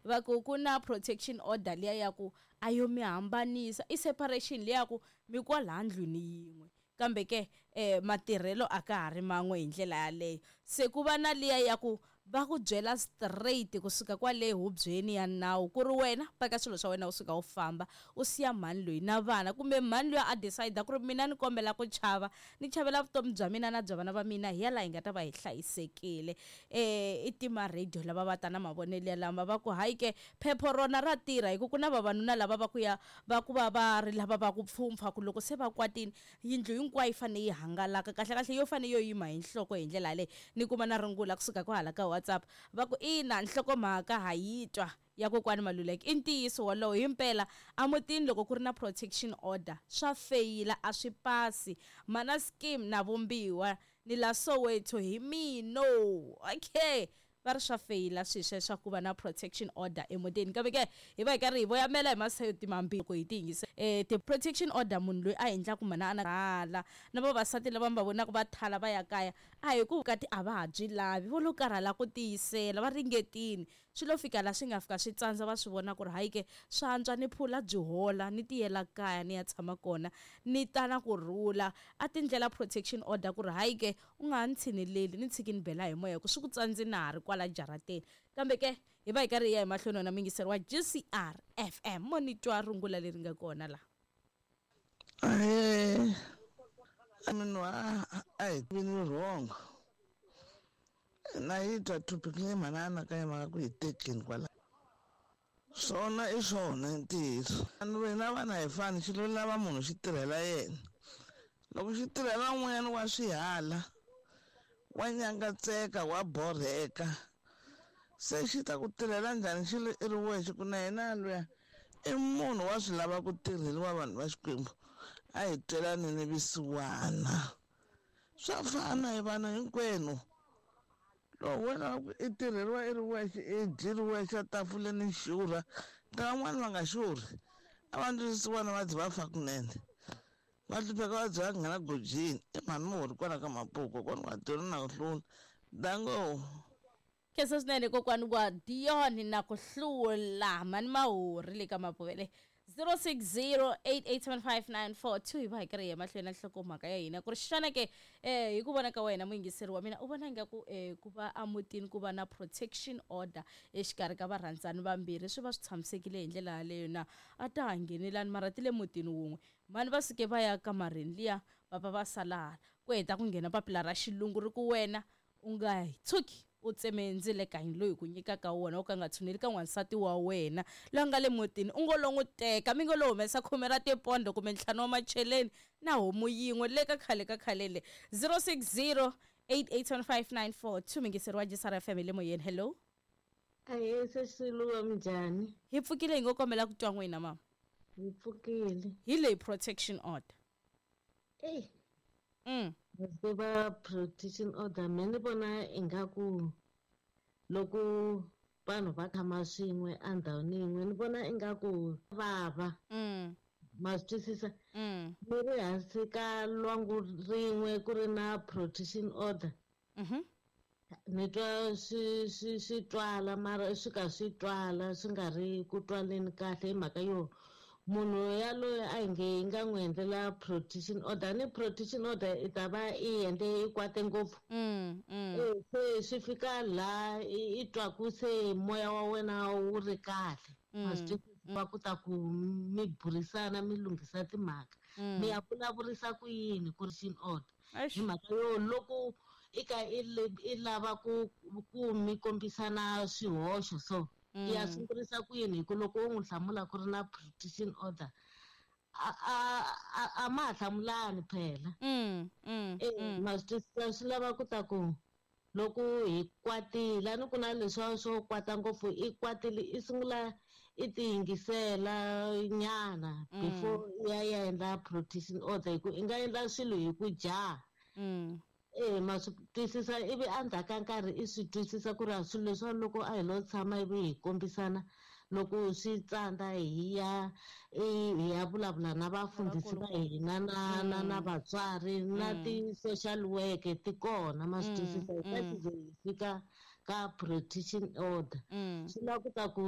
Va ku ku na protection order liya ya ku a yo mi hambanisa, i separation liya ku mi kwalaha ndlwini yin'we, kambe ke matirhelo a ka ha ri man'we hi ndlela yaleyo. Se ku va na liya ya ku va ku byela straight kusuka kwale hubyeni ya nawu ku ri wena paka swilo swa wena u suka u famba, u siya mhani loyi na vana, kumbe mhani loyi a decide ku ri mina ni kombela ku chava, ni chavela vutomi bya mina na bya vana va mina, hi ya laha hi nga ta va hi hlayisekile. I tima radio lava va ta na mavonelo ya lama va ku hayi ke phepho rona ra tirha, hi ku ku na vavanuna lava va ku ya va ku va va ri lava va ku pfhumpfha ku loko se va kwatini yindlu hinkwayo yi fanele yi hangalaka, kahle kahle yo fanele yo yima hi nhloko hi ndlela yaleyo. Ni kuma na rungula kusuka kwahala ka WhatsApp va ku ina nhlokomhaka ha yi twa ya kokwani Maluleke, i ntiyiso wolowo himpela emutini loko ku ri na protection order swa feyila, a swi pasi. Mana scheme na vumbiwa ni la Soweto hi mino. Okay, va ri swa feyila swi sweswo ku va na protection order emutini, kambe ke hi va hi karhi hi voyamela hi masayiti mambirhi loko hi ti yingisa. Ti-protection order munhu loyi a endlaku mhana a na rhala na vavasati lava mi va vonaka va thala va ya kaya, a hi ku vukati a va ha byi lavi, vo lo karhala ku tiyisela, va ringetini, swi lo fika laha swi nga fika swi tsandza, va swi vona ku ri hayi ke swa antswa ni phula byi hola ni tiyela kaya ni ya tshama kona ni ta na kurhula. A tindlela protection order ku ri hayi ke u nga ha ni tshineleli, ni tshiki ni bela hi moya ku swi ku tsandzi na ha ri kwala jarateni. Kambe ke hi va hi karhi hi ya hi mahlweni wena muyingiseri wa GCR FM, mo ni twa rungula leri nga kona laha. Munhu a hi vini wrong na yi twa topic leyi mhana anakanya mhaka ku hi tekeni kwala, swona i swona ntiyiso. Vanhu vana hi fani, xi lo lava munhu xi tirhela yena, loko xi tirhela un'wanyana wa swihala, wa nyangatseka, wa borheka, se xi ta ku tirhela njhani xi ri i ri wexe? Ku na yena luya i munhu wa swi lava ku tirheliwa vanhu va Xikwembu, a hi twelaneni vusiwana, swa fana hi vanhu hinkwenu. Loko wena i tirheriwa i ri wexe, i dyi ri wexe tafuleni xurha, ta van'wani va nga xurhi, a va ndzi vusiwana va dyi va fa kunene, va hlupheka va dyi va nghena gojini. I mhani muhori kwala ka Mapuku, kokwani wa Dion na ku hlula dango. Khensa swinene kokwani wa Dion na ku hlula, mhani Mahori le ka Mapuvele. 0608875942 hi va hi karhi hi ya mahlweni na nhlokomhaka ya hina ku ri xana ke hi ku vona ka wena muyingiseri wa mina u vona ingaku ku va emutini ku va na protection order exikarhi ka varhandzani vambirhi swi va swi tshamisekile hi ndlela yaleyo na? A ta ha nghenelani mara ti le mutini wun'we, mhani va suke va ya kamareni liya, papa va sala hala, ku heta ku nghena papila ra xilungu ri ku wena u nga tshuki u tseme ndzilekanyi loyi ku nyikaka wona, u ka nga tshuneli ka n'wansati wa wena loyi a nga le mutini, u ngo lo n'wi teka, mi ngo lo humesa khume ra tipondo kumbe 5 wa macheleni na homu yin'we le ka khale ka khale le. 0608875942 mingiseri wa GCR FM hi le moyeni. Hello. Ahee, se Xiluva, minjhani? Hi pfukile, hi ngo kombela ku twa n'wina mama. Hi pfukile. Hi leyi protection order. Ey. Va protection order me ni vona ingaku loko vanhu va tshama swin'we endhawini yin'we ni vona ingaku vava. Ma swi twisisa? Ni ri hansi ka lwangu rin'we ku ri na protection order. Ni twa swi twala mara swi ka swi twala swi nga ri ku twaleni kahle hi mhaka yo munhu yaloye a hi nge yi nga n'wi endlela protection order, ni protection order i ta va i endle i kwate ngopfu. Se swi fika laha i twaku se moya wa wena wu ri kahle. Ma swi twisisa? Va ku ta ku mi burisana mi lunghisa timhaka, mi ya vulavurisa ku yini ku ri order hi mhaka yo loko i ka i lava ku mi kombisana swihoxo so ya sungurisa ku yini, hi ku loko u n'wi hlamula ku ri na protection order a ma ha hlamulani phela. Ma swi twisisa? Swi lava ku ta ku loko hi kwatile, a ni ku na leswiya swo kwata ngopfu, i kwatile i sungula i ti yingisela nyana before ya endla protection order, hi ku i nga endla swilo hi ku jaha. Ma swi twisisa? Ivi endzhaku ka nkarhi i swi twisisa ku ri a swilo leswiwa loko a hi lo tshama ivi hi kombisana loko swi tsandza hi ya vulavula na vafundhisi va hina na vatswari na ti-social work ti kona, ma swi twisisa? Hi ta ze hi fika ka protection order. Swi lava ku ta ku